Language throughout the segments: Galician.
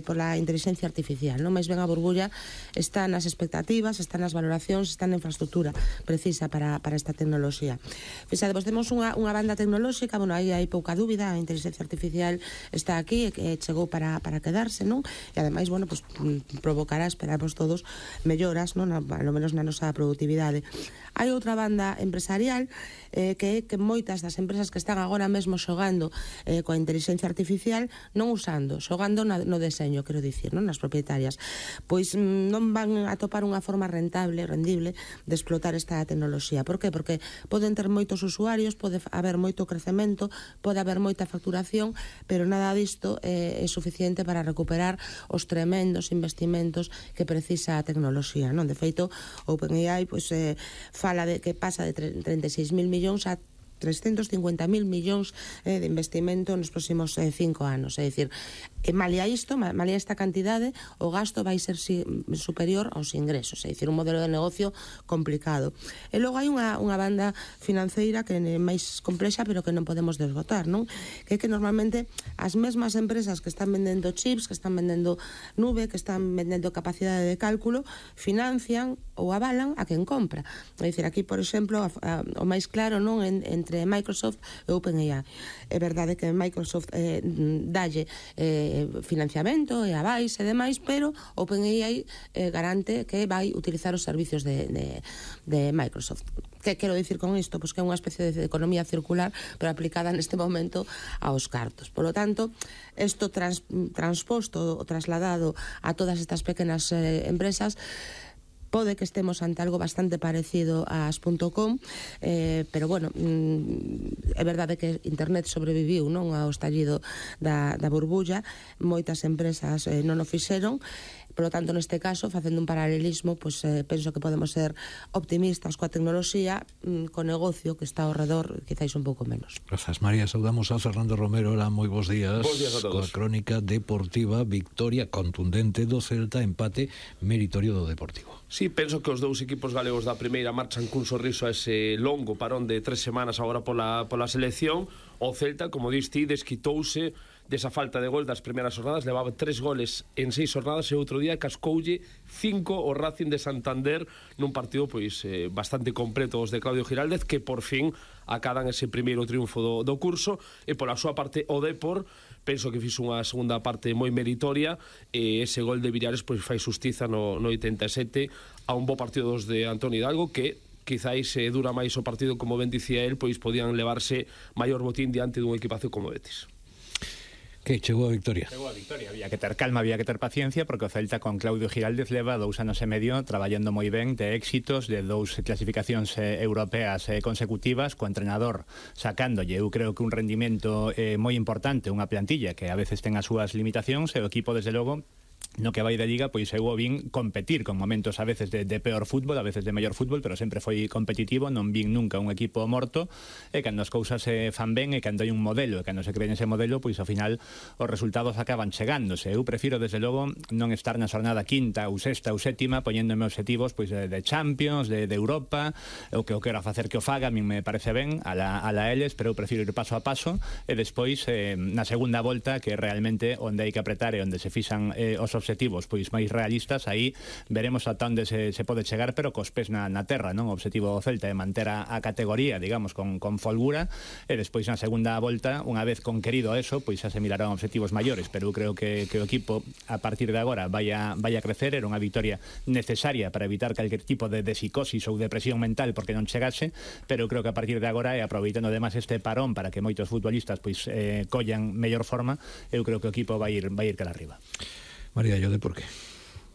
pola inteligencia artificial, non? Mais ben a burbulla está nas expectativas, está nas valoracións, está na infraestructura precisa para esta tecnoloxía. Fixadevos, temos unha banda tecnolóxica, bueno, aí hai pouca dúbida, a inteligencia artificial está aquí e chegou para quedarse, non? E ademais, bueno, pues, provocará, esperamos todos, melloras, non? Ao menos na nosa produtividade. Hai outra banda empresarial que moitas das empresas que están agora mesmo xogando coa inteligencia artificial non usando, xogando no deseño, quero dicir, non? Nas propietarias, pois non van a topar unha forma rendible de explotar esta tecnoloxía. Por que? Porque poden ter moitos usuarios, pode haber moito crecemento, pode haber moita facturación, pero nada disto é suficiente para recuperar os tremendos investimentos que precisa a tecnoloxía, non? De feito, OpenAI pois fala de que pasa de 36.000 millóns a 350.000 millóns de investimento nos próximos 5 anos. É dicir, malia esta cantidade, o gasto vai ser superior aos ingresos. É dicir, un modelo de negocio complicado. E logo hai unha banda financeira que é máis complexa, pero que non podemos desbotar, non? Que é que normalmente as mesmas empresas que están vendendo chips, que están vendendo nube, que están vendendo capacidade de cálculo, financian ou avalan a quen compra. É dicir, aquí, por exemplo, o máis claro, non, entre Microsoft e OpenAI. É verdade que Microsoft dalle financiamento e avais e demais, pero OpenAI garante que vai utilizar os servicios de Microsoft. Que quero dicir con isto? Pois que é unha especie de economía circular, pero aplicada neste momento aos cartos. Por lo tanto, isto transposto ou trasladado a todas estas pequenas empresas, pode que estemos ante algo bastante parecido a as.com, pero bueno, é verdade que internet sobreviviu, non, ao estallido da burbulla, moitas empresas non o fixeron. Por lo tanto, neste caso, facendo un paralelismo, pois penso que podemos ser optimistas coa tecnoloxía, co negocio que está ao redor, quizáis un pouco menos. Grazas, María. Saudamos a Fernando Romero. Hola, moi bons días. Bons días a todos. Coa crónica deportiva, victoria contundente do Celta, empate meritorio do Deportivo. Sí, penso que os dous equipos galegos da primeira marchan cun sorriso a ese longo parón de 3 semanas agora pola selección. O Celta, como dis ti, desquitouse desa falta de gol das primeiras jornadas, levaba 3 goles en 6 jornadas e outro día cascoulle 5 o Racing de Santander nun partido pois bastante completo os de Claudio Giraldez, que por fin acadan ese primeiro triunfo do curso. E pola súa parte o Depor penso que fixo unha segunda parte moi meritoria, e ese gol de Villares pois fai xustiza no 87 a un bo partido dos de Antonio Hidalgo, que quizáis dura máis o partido, como ben dicía el, pois podían levarse maior botín diante dun equipazo como Betis. Que chegou a victoria? Chegou a victoria, había que ter calma, había que ter paciencia, porque o Celta con Claudio Giraldez leva 2 anos e medio traballando moi ben, de éxitos, de 2 clasificacións europeas consecutivas, co entrenador sacándolle, eu creo que un rendimento moi importante, unha plantilla que a veces ten as súas limitacións, e o equipo, desde logo, no que vai de Liga, pois eu vin competir con momentos a veces de peor fútbol, a veces de mellor fútbol, pero sempre foi competitivo, non vin nunca un equipo morto, e cando as cousas se fan ben, e cando hai un modelo, e cando se cree nese modelo, pois ao final os resultados acaban chegándose. Eu prefiro, desde logo, non estar na xornada quinta ou sexta ou sétima poñéndome obxectivos pois de Champions, de Europa, o que eu quero facer que o faga, a min me parece ben, a la eles, pero eu prefiro ir paso a paso, e despois na segunda volta, que realmente onde hai que apretar e onde se fixan os obxectivos pois máis realistas, aí veremos ata onde se pode chegar, pero cos pés na terra, non? O obxectivo do Celta é manter a categoría, digamos, con folgura, e despois na segunda volta, unha vez conquerido eso, pois xa se mirarán obxectivos maiores, pero eu creo que o equipo a partir de agora vai a crecer. Era unha victoria necesaria para evitar calquer tipo de psicosis ou depresión mental porque non chegase, pero eu creo que a partir de agora, e aproveitando además este parón para que moitos futbolistas pois collan mellor forma, eu creo que o equipo vai ir cara arriba. María, yo de por qué?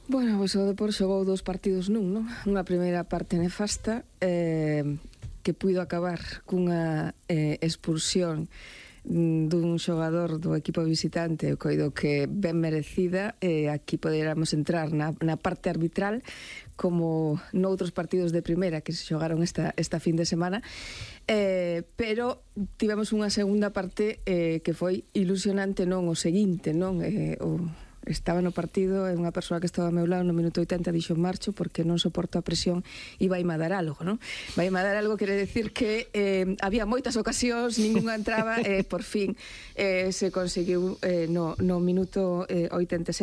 Bueno, pois o Depor xogou 2 partidos nun, non? Unha primeira parte nefasta que puido acabar cunha expulsión dun xogador do equipo visitante, eu coido que ben merecida, e aquí poderamos entrar na parte arbitral, como noutros partidos de primeira que se xogaron esta fin de semana, pero tivemos unha segunda parte que foi ilusionante, non o seguinte, non? estaba no partido e unha persoa que estaba ao meu lado no minuto 80 dixo marcho porque non soporto a presión e vai dar algo, non? Vai dar algo quere decir que había moitas ocasións, ningunha entraba e por fin se conseguiu no minuto 86